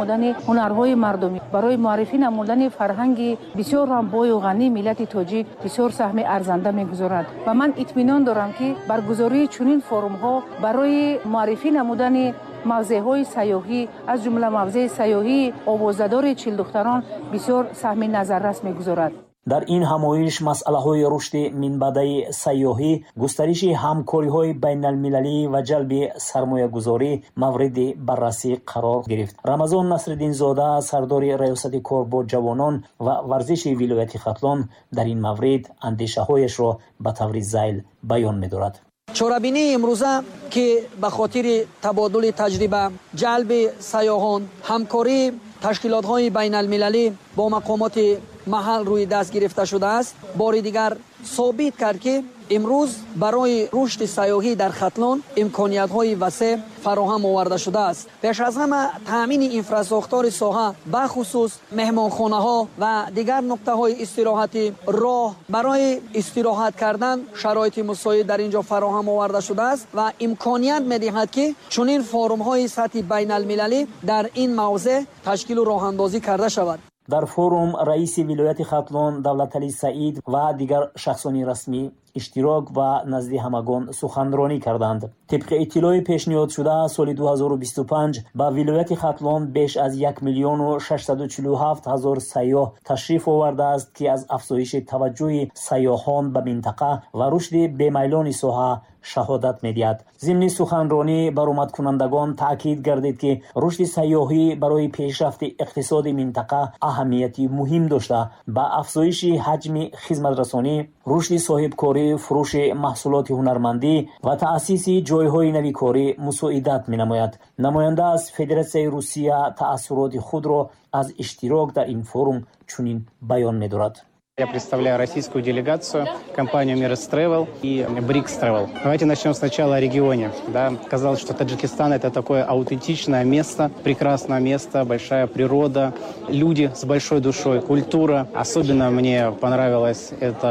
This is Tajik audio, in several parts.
Намудани ҳунарҳои мардумӣ, барои муаррифӣ намудани фарҳанги бисёр ҳам бою ғании миллати тоҷик бисёр саҳми арзанда мегузорад. Ва ман итминон дорам, ки баргузории чунин форумҳо барои муаррифӣ намудани мавзеъҳои сайёҳӣ, аз ҷумла мавзеи сайёҳии овозадори Чилдухтарон, бисёр саҳми назаррас мегузорад. Дар ин ҳамоиш масъалаҳои рушди минбаъдаи сайёҳӣ, густариши ҳамкориҳои байналмилалӣ ва ҷалби сармоягузорӣ мавриди баррасӣ қарор гирифт. Рамазон Насриддинзода, сардори Раёсати кор бо ҷавонон ва варзиши вилояти Хатлон, дар ин маврид андешаҳояшро ба таври зайл баён медорад. Чорабинии имрӯза, ки ба хотири табодули таҷриба, ҷалби сайёҳон, ҳамкории ташкилотҳои байналмилалӣ бо мақомоти маҳал рӯи даст гирифта шудааст, бори дигар собит кард, ки имрӯз барои рушди сайёҳӣ дар Хатлон имкониятҳои васеъ фароҳам оварда шудааст. Пеш аз ҳама таъмини инфрасохтори соҳа, бахусус меҳмонхонаҳо ва дигар нуқтаҳои истироҳатӣ, роҳ барои истироҳат кардан, шароити мусоид дар ин ҷо фароҳам оварда шудааст ва имконият медиҳад, ки чунин форумҳои сатҳи байналмилалӣ дар ин мавзеъ ташкилу роҳандозӣ карда шавад. Дар форум раиси вилояти Хатлон Давлаталӣ Саид ва дигар шахсони расмӣ иштирок ва назди ҳамагон суханронӣ карданд. Тибқи иттилои пешниҳодшуда, соли 2025 ба вилояти Хатлон беш аз 1 миллиону 647 ҳазор сайёҳ ташриф овардааст, ки аз афзоиши таваҷҷӯҳи сайёҳон ба минтақа ва рушди бемайлони соҳа шаҳодат медиҳад. Зимни суханронӣ баромадкунандагон таъкид гардид, ки рушди сайёҳӣ барои пешрафти иқтисоди минтақа аҳамияти муҳим дошта, ба афзоиши ҳаҷми хизматрасонӣ, рушди соҳибкорӣ, фурӯши маҳсулоти ҳунармандӣ ва таъсиси ҷойҳои нави корӣ мусоидат менамояд. Намоянда аз Федератсияи Русия таассуроти худро аз иштирок дар ин форум чунин баён медорад. Я представляю российскую делегацию, компанию Emirates Travel и BRICS Travel. Давайте начнем сначала о регионе. Да, казалось, что Таджикистан – это такое аутентичное место, прекрасное место, большая природа, люди с большой душой, культура. Особенно мне понравилось это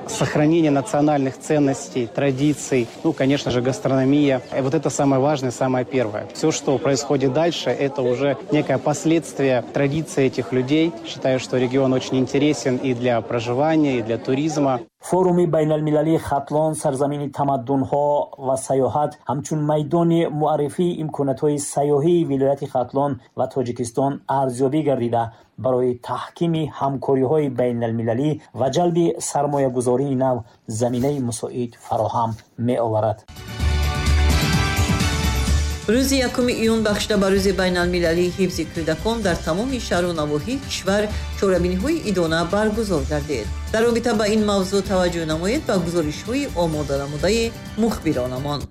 сохранение национальных ценностей, традиций, ну, конечно же, гастрономия. И вот это самое важное, самое первое. Все, что происходит дальше, это уже некое последствие традиции этих людей. Считаю, что регион очень интересен и для проживания, и для туризма. Форуми байналмилалии «Хатлон – сарзамини тамаддунҳо ва сайёҳат» ҳамчун майдони муаррифии имкониятҳои сайёҳии вилояти Хатлон ва Тоҷикистон арзёбӣ гардида, барои таҳкими ҳамкориҳои байналмилалӣ ва ҷалби сармоягузории нав заминаи мусоид фароҳам меоварад. Рӯзи 1 июн, бахшида ба Рӯзи байналмилалии ҳифзи кӯдакон, дар тамоми шаҳру навоҳии кишвар чорабиниҳои идона баргузор гардид. Дар робита ба ин мавзӯъ таваҷҷӯҳ намоед ба гузоришҳои омоданамудаи мухбиронамон.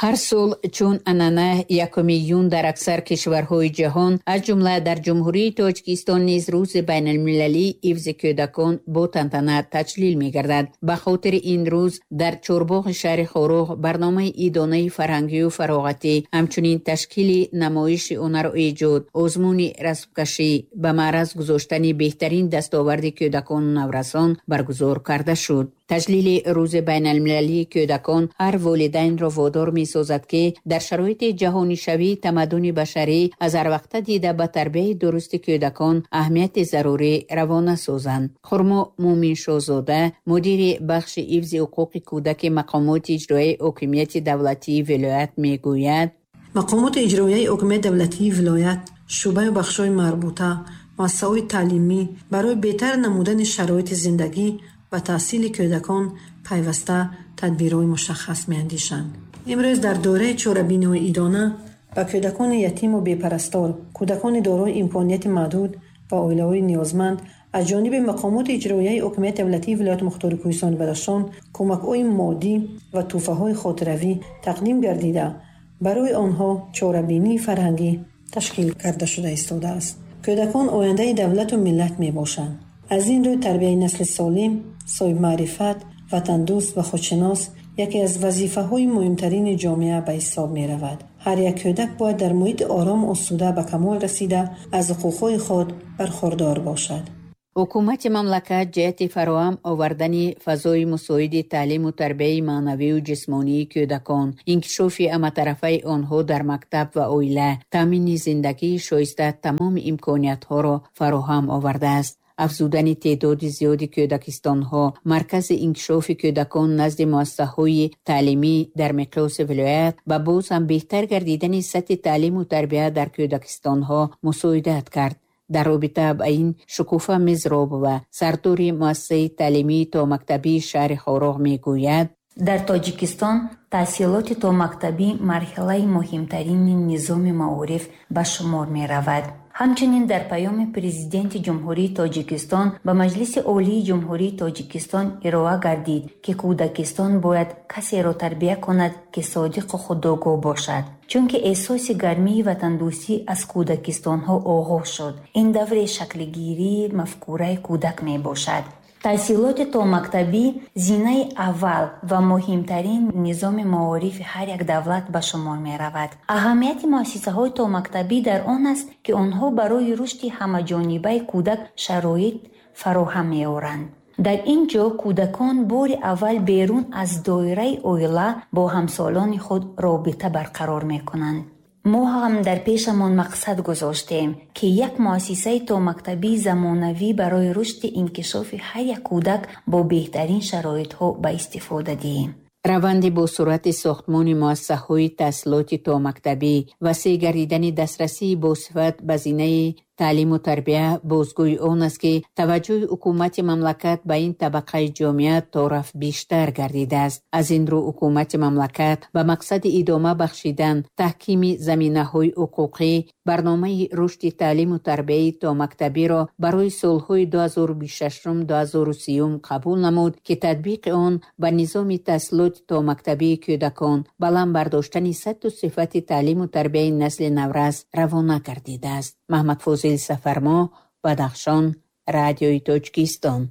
Ҳар сол чун анъана 1 июн дар аксар кишварҳои ҷаҳон, аз ҷумла дар Ҷумҳурии Тоҷикистон низ, Рӯзи байналмилалии ҳифзи кӯдакон бо тантана таҷлил мегардад. Ба хотири ин рӯз дар чорбоғи шаҳри Хоруғ барномаи идонаи фарҳангию фароғатӣ, ҳамчунин ташкили намоиши ҳунару эҷод, озмуни расмкашӣ, ба маъраз гузоштани беҳтарин дастоварди кӯдакону наврасон баргузор карда шуд. Таҷлили Рӯзи байналмилалии кӯдакон ҳар волидайнро водор месозад, ки дар шароити ҷаҳонишавии тамаддуни башарӣ аз ҳарвақта дида ба тарбияи дурусти кӯдакон аҳамияти зарурӣ равона созанд. Хурмо Муъминшоҳзода, мудири бахши ҳифзи ҳуқуқи кӯдаки мақомоти иҷроияи ҳокимияти давлатии вилоят, мегӯяд: Мақомоти иҷроияи ҳокимияти давлатии вилоят, шӯъбаю бахшҳои марбута, муассисаҳои таълимӣ барои беҳтар намудани шароити зиндагӣ ва таҳсили кӯдакон пайваста тадбирҳои мушаххас меандешанд. Имрӯз дар доираи чорабиниҳои идона ба кӯдакони ятиму бепарастор, кӯдакони дорои имконияти маҳдуд ва оилаҳои ниёзманд аз ҷониби мақомоти иҷроияи ҳокимияти давлатии вилояти мухтори Кӯҳистони Бадахшон кӯмакҳои моддӣ ва тӯҳфаҳои хотиравӣ тақдим гардида, барои онҳо чорабинии фарҳангӣ ташкил карда шуда истодааст. Кӯдакон ояндаи давлату миллат мебошанд. Аз ин рӯй тарбияи насли солим, соҳибмаърифат, ватандӯст ва худшинос яке аз вазифаҳои муҳимтарини ҷомеа ба ҳисоб меравад. Ҳар як кӯдак бояд дар муҳити орому осуда ба камол расида, аз ҳуқуқҳои худ бархурдор бошад. Ҳукумати мамлакат ҷиҳати фароҳам овардани фазои мусоиди таълиму тарбияи маънавию ҷисмонии кӯдакон, инкишофи ҳаматарафаи онҳо дар мактаб ва оила, таъмини зиндагии шоиста тамоми имкониятҳоро фароҳам овардааст. Афзудани теъдоди зиёди кӯдакистонҳо, маркази инкишофи кӯдакон назди муассисаҳои таълимӣ дар миқёси вилоят ба боз ҳам беҳтар гардидани сатҳи таълиму тарбия дар кӯдакистонҳо мусоидат кард. Дар робита ба ин Шукуфа Мизробова, сардори муассисаи таълимии томактабии шаҳри Хоруғ, мегӯяд: Дар Тоҷикистон таҳсилоти томактабӣ марҳилаи муҳимтарини низоми маориф ба шумор меравад. Ҳамчунин дар Паёми Президенти Ҷумҳурии Тоҷикистон ба Маҷлиси Олии Ҷумҳурии Тоҷикистон ироа гардид, ки кӯдакистон бояд касеро тарбия кунад, ки содиқу худогоҳ бошад. Чунки эҳсоси гармии ватандӯстӣ аз кӯдакистонҳо оғоз шуд. Ин даври шаклгирии мафкураи кӯдак мебошад. Таҳсилоти томактабӣ зинаи аввал ва муҳимтарин низоми маорифи ҳар як давлат ба шумор меравад. Аҳамияти муассисаҳои томактабӣ дар он аст, ки онҳо барои рушди ҳамаҷонибаи кӯдак шароит фароҳам меоранд. Дар ин ҷо кӯдакон бори аввал берун аз доираи оила бо ҳамсолони худ робита барқарор мекунанд. Мо ҳам дар пешамон мақсад гузоштем, ки як муассисаи томактабии замонавӣ барои рушди инкишофи ҳар як кӯдак бо беҳтарин шароитҳо ба истифода диҳем. Раванди бо суръати сохтмони муассисаҳои таҳсилоти томактабӣ, васеъ гардидани дастрасии босифат ба зинаи таълиму тарбия бозгӯи он аст, ки таваҷҷӯҳи ҳукумати мамлакат ба ин табақаи ҷомеа торафт бештар гардидааст. Аз ин рӯ ҳукумати мамлакат ба мақсади идома бахшидан, таҳкими заминаҳои ҳуқуқӣ барномаи рушди таълиму тарбияи томактабиро барои солҳои 2026-2030 қабул намуд, ки татбиқи он ба низоми таҳсилоти томактабии кӯдакон, баланд бардоштани сатҳу сифати таълиму тарбияи насли наврас равона гардидааст. Маҳмадфозил Сафармо, Бадахшон, Радиои Тоҷикистон.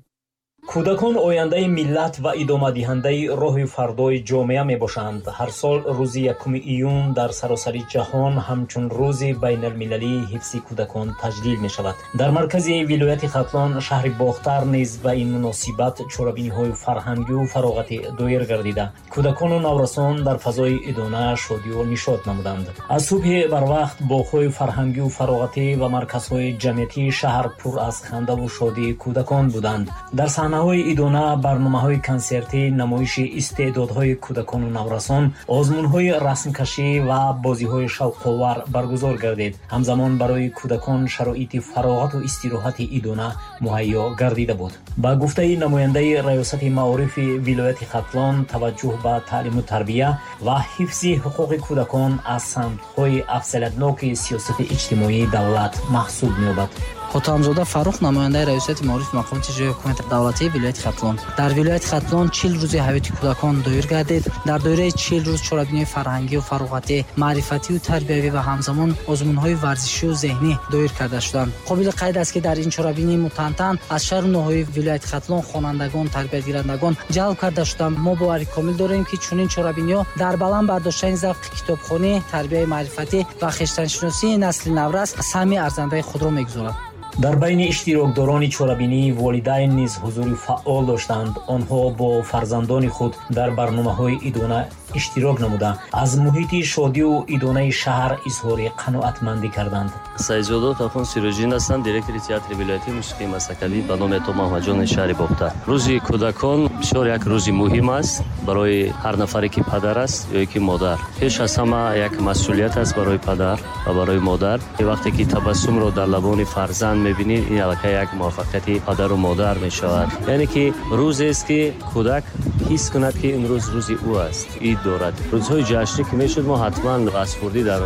Кӯдакон ояндаи миллат ва идомадиҳандаи роҳи фардои ҷомеа мебошанд. Ҳар сол рӯзи 1 июн дар саросари ҷаҳон ҳамчун рӯзи байналмилалии ҳифзи кӯдакон таҷлил мешавад. Дар маркази вилояти Хатлон, шаҳри Бохтар низ ба ин муносибат чорабиниҳои фарҳангию фароғатӣ доир гардида, кӯдакону наврасон дар фазои идона шодию нишот намуданд. Аз субҳи барвақт боғҳои фарҳангию фароғатӣ ва марказҳои ҷамъиятии шаҳр пур аз хандаву шодии кӯдакон буданд. Дар саҳнаҳои идона барномаҳои консертӣ, намоиши истеъдодҳои кӯдакону наврасон, озмунҳои расмкашӣ ва бозиҳои шавқовар баргузор гардид. Ҳамзамон барои кӯдакон шароити фароғату истироҳати идона муҳайё гардида буд. Ба гуфтаи намояндаи раёсати маорифи вилояти Хатлон, таваҷҷӯҳ ба таълиму тарбия ва ҳифзи ҳуқуқи кӯдакон аз самтҳои афзалиятноки сиёсати иҷтимоии давлат маҳсуб меёбад. Хотамзода Фаррух, намояндаи раёсати маориф мақомоти иҷроияи ҳукумати давлатии вилояти Хатлон. Дар вилояти Хатлон 40 рӯзи ҳаёти кӯдакон доир гардид. Дар доираи 40 рӯз чорабиниҳои фарҳангию фароғатӣ, маърифатию тарбиявӣ ва ҳамзамон озмунҳои варзишию зеҳнӣ доир карда шуданд. Қобили қайд аст, ки дар ин чорабинии мутантан аз шаҳру ноҳияи вилояти Хатлон хонандагон, тарбиятгирандагон ҷалб карда шуданд. Мо бовари комил дорем, ки чунин чорабиниҳо дар баланд бардоштани завқи китобхонӣ, тарбияи маърифатӣ ва хештаншиносии насли наврас саҳми арзандаи худро мегузорад. Дар байни иштирокдорони чорабинӣ волидайн низ ҳузури фаъол доштанд. Онҳо бо фарзандони худ дар барномаҳои идона иштирок намуда, аз муҳити шодию идонаи шаҳр изҳори қаноатмандӣ карданд. Саидзода Тахон Сироҷиддин ҳастам, директори театри вилоятии мусиқии Масакавӣ ба номи Ато Маҳмадҷони шаҳри Бохтар. Рӯзи кӯдакон бисёр як рӯзи муҳим аст барои ҳар нафаре, ки падар аст ё ки модар. Пеш аз ҳама як масъулият аст барои падар ва барои модар. Вақте ки табассумро дар лабони фарзанд мебинӣ, ин аллакай як муваффақияти падару модар мешавад. Яъне ки рӯзест, ки кӯдак ҳис кунад, ки имрӯз рӯзи ӯ аст, ид дорад. Рӯзҳои ҷашнӣ ки мешуд, мо ҳатман аз хурдӣ дар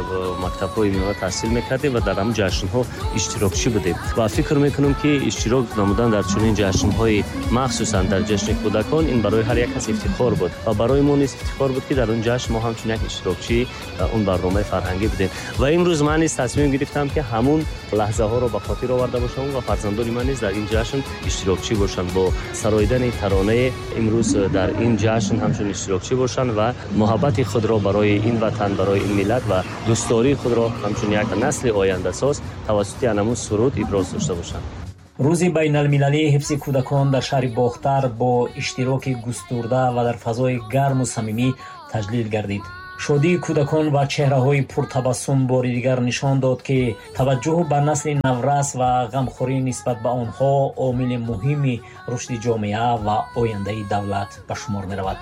мактабҳои миёна таҳсил мекардем ва дар ҳамин ҷашнҳо иштирокчӣ будем ва фикр мекунам, ки иштирок намудан дар чунин ҷашнҳои, махсусан дар ҷашни кӯдакон, ин барои ҳар як кас ифтихор буд ва барои мо низ ифтихор буд, ки дар он ҷашн мо ҳамчун як иштирокчии он барномаи фарҳангӣ будем. Ва имрӯз ман низ тасмим гирифтам, ки ҳамун лаҳзаҳоро ба хотир оварда бошам ва фарзандони ман низ дар ин ҷашн иштирокчӣ бошанд, бо сароидани таронаи имрӯз дар ин ҷашн ҳамчун иштирокчӣ бошанд ва муҳаббати худро барои ин ватан, барои ин миллат ва дӯстдории худро ҳамчун як насли ояндасоз тавассути анамун суруд иброз дошта бошанд. Рӯзи байналмилалии ҳифзи кӯдакон дар шаҳри Бохтар бо иштироки густурда ва дар фазои гарму самимӣ таҷлил гардид. Шодии кӯдакон ва чеҳраҳои пуртабассум бори дигар нишон дод, ки таваҷҷӯҳ ба насли наврас ва ғамхорӣ нисбат ба онҳо омили муҳими рушди ҷомеа ва ояндаи давлат ба шумор меравад.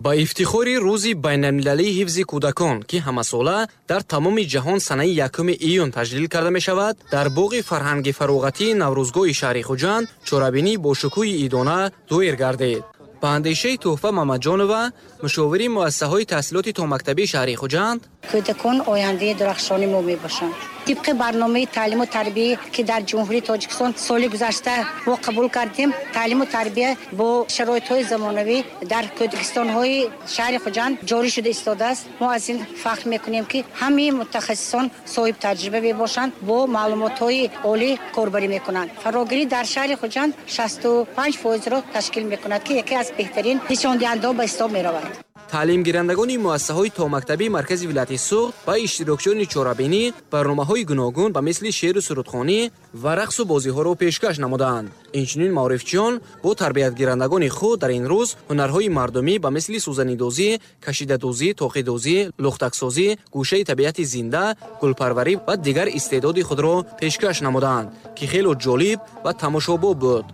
Ба ифтихори Рӯзи байналмилалии ҳифзи кӯдакон, ки ҳамасола дар тамоми ҷаҳон санаи 1 июн таҷлил карда мешавад, дар боғи фарҳанги фароғатии Наврӯзгоҳи шаҳри Хуҷанд чорабинӣ бо шукӯҳи идона доир гардид. Ба андешаи Тӯҳфа Мамаҷонова, мушовири муассисаҳои таҳсилоти томактабии шаҳри Хуҷанд, кӯдакон ояндаи дурахшони мо мебошанд. Тибқи барномаи таълиму тарбия, ки дар Ҷумҳурии Тоҷикистон соли гузашта мо қабул кардем, таълиму тарбия бо шароитҳои замонавӣ дар кӯдакистонҳои шаҳри Хуҷанд ҷорӣ шуда истодааст. Мо аз ин фахр мекунем, ки ҳамаи мутахассисон соҳиб таҷриба мебошанд, бо маълумотҳои олӣ корбарӣ мекунанд. Фарогирӣ дар шаҳри Хуҷанд 65%-ро ташкил мекунад, ки яке аз беҳтарин нишондиҳандаҳо ба ҳисоб меравад. Таълимгирандагони муассисаҳои томактабии маркази вилояти Суғд ва иштирокчиёни чорабинӣ барномаҳои гуногун ба мисли шеъру сурудхонӣ ва рақсу бозиҳоро пешкаш намуданд. Инчунин маорифчиён бо тарбиятгирандагони худ дар ин рӯз ҳунарҳои мардумӣ ба мисли сӯзанидӯзӣ, кашидадӯзӣ, тоқидӯзӣ, лухтаксозӣ, гӯшаи табиати зинда, гулпарварӣ ва дигар истеъдоди худро пешкаш намуданд, ки хело ҷолиб ва тамошобоб буд.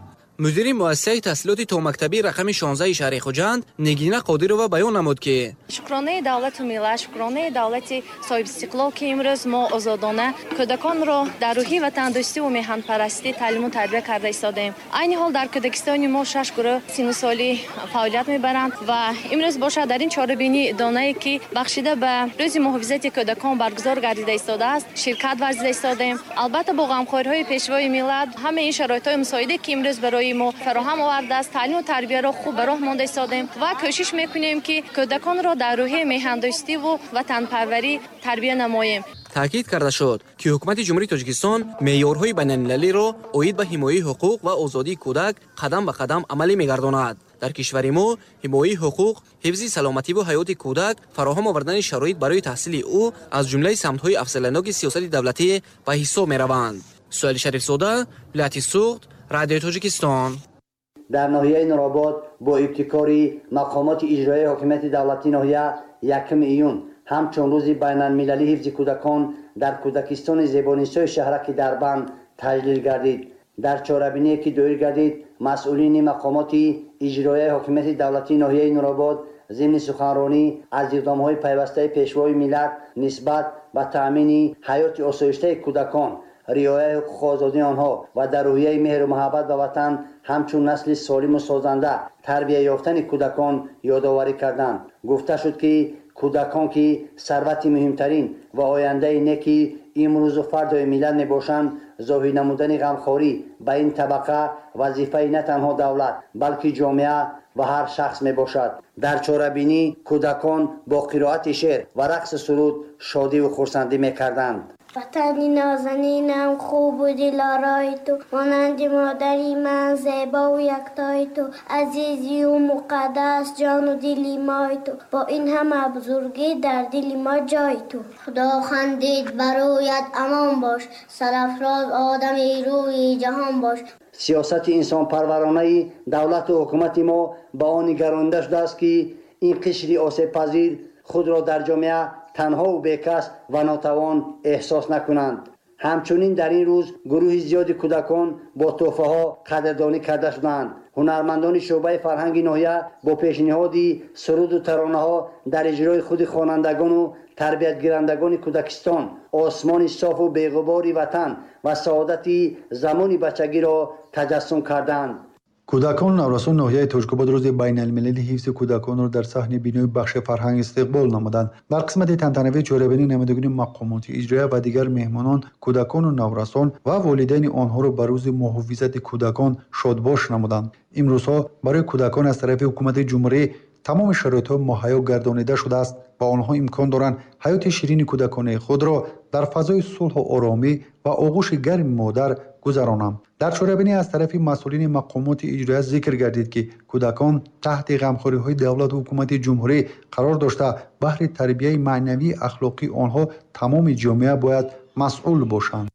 Мудири муассисаи таҳсилоти томактабии рақами 16 шаҳри Хуҷанд Нигина Қодирова баён намуд, ки шукронаи давлату миллат, шукронаи давлати соҳибистиқлол, ки имрӯз мо озодона кӯдаконро дар рӯҳи ватандӯстиву меҳанпарастӣ таълиму тарбия карда истодаем. Айни ҳол дар кӯдакистони мо 6 гурӯҳ сину солӣ фаъолият мебаранд ва имрӯз бошад дар ин чорабинӣ донае, ки бахшида ба рӯзи муҳофизати кӯдакон баргузор гардида истодааст, ширкат варзида истодаем. Албатта, бо ғамхориҳои пешвои миллат ҳамаи ин шароитҳои мусоиде, ки имрӯз барои мо фароҳам овардааст, таълиму тарбияро хуб ба роҳ монда истодаем ва кӯшиш мекунем, ки кӯдаконро дар рӯҳияи меҳандӯстиву ватанпарварӣ тарбия намоем. Таъкид карда шуд, ки ҳукумати Ҷумҳурии Тоҷикистон меъёрҳои байналмилалиро оид ба ҳимояи ҳуқуқ ва озодии кӯдак қадам ба қадам амалӣ мегардонад. Дар кишвари мо ҳимояи ҳуқуқ, ҳифзи саломативу ҳаёти кӯдак, фароҳам овардани шароит барои таҳсили ӯ аз ҷумлаи самтҳои афзалиятноки сиёсати давлатӣ ба ҳисоб мераванд. Суҳайли Шарифзода, вилояти Суғд, Радиои Тоҷикистон. Дар ноҳияи Нуробод бо ибтикори мақомоти иҷроияи ҳокимияти давлатии ноҳия 1 июн ҳамчун рӯзи байналмилалии ҳифзи кӯдакон дар кӯдакистони зебонисои шаҳраки Дарбанд таҷлил гардид. Дар чорабиние, ки доир гардид, масъулини мақомоти иҷроияи ҳокимияти давлатии ноҳияи Нуробод зимни суханронӣ аз иқдомҳои пайвастаи пешвои миллат нисбат ба таъмини ҳаёти осоиштаи кӯдакон, риояи ҳуқуқу озодии онҳо ва дар рӯҳияи меҳру муҳаббат ба ватан ҳамчун насли солиму созанда тарбия ёфтани кӯдакон ёдоварӣ карданд. Гуфта шуд, ки кӯдакон, ки сарвати муҳимтарин ва ояндаи неки имрӯзу фардои миллат мебошанд, зоҳир намудани ғамхорӣ ба ин табақа вазифаи на танҳо давлат, балки ҷомеа ва ҳар шахс мебошад. Дар чорабинӣ кӯдакон бо қироати шеър ва рақси суруд шодиву хурсандӣ мекарданд. Ватани нозанинам, хубу дилорои ту, монанди модари ман зебову яктои ту, азизию муқаддас, ҷону дили мои ту, бо ин ҳама бузургӣ дар дили мо ҷои ту. Худо хандид ба рӯят, амон бош, сарафроз одами рӯи ҷаҳон бош. Сиёсати инсонпарваронаи давлату ҳукумати мо ба он нигаронида шудааст, ки ин қишри осебпазир худро дар ҷомеа танҳову бекас ва нотавон эҳсос накунанд. Ҳамчунин дар ин рӯз гурӯҳи зиёди кӯдакон бо тӯҳфаҳо қадрдонӣ карда шуданд. Ҳунармандони шӯъбаи фарҳанги ноҳия бо пешниҳоди суруду таронаҳо дар иҷрои худи хонандагону тарбиятгирандагони кӯдакистон осмони софу беғубори ватан ва саодати замони бачагиро таҷассум карданд. Кӯдакону наврасони ноҳияи Тоҷикобод рӯзи байналмилалии ҳифзи кӯдаконро дар саҳни бинои бахши фарҳанг истиқбол намуданд. Дар қисмати тантанавии чорабинӣ намояндагони мақомоти иҷроия ва дигар меҳмонон кӯдакону наврасон ва волидайни онҳоро ба рӯзи муҳофизати кӯдакон шодбош намуданд. Имрӯзҳо барои кӯдакон аз тарафи ҳукумати ҷумҳурӣ тамоми шароитҳо муҳайё гардонида шудааст ва онҳо имкон доранд ҳаёти ширини кӯдаконаи худро дар фазои сулҳу оромӣ ва оғӯши гарми модар гузаронанд. Дар чорабинӣ аз тарафи масъулини мақомоти иҷроия зикр гардид, ки кӯдакон таҳти ғамхориҳои давлату ҳукумати ҷумҳурӣ қарор дошта, баҳри тарбияи маънавии ахлоқии онҳо тамоми ҷомеа бояд масъул бошанд.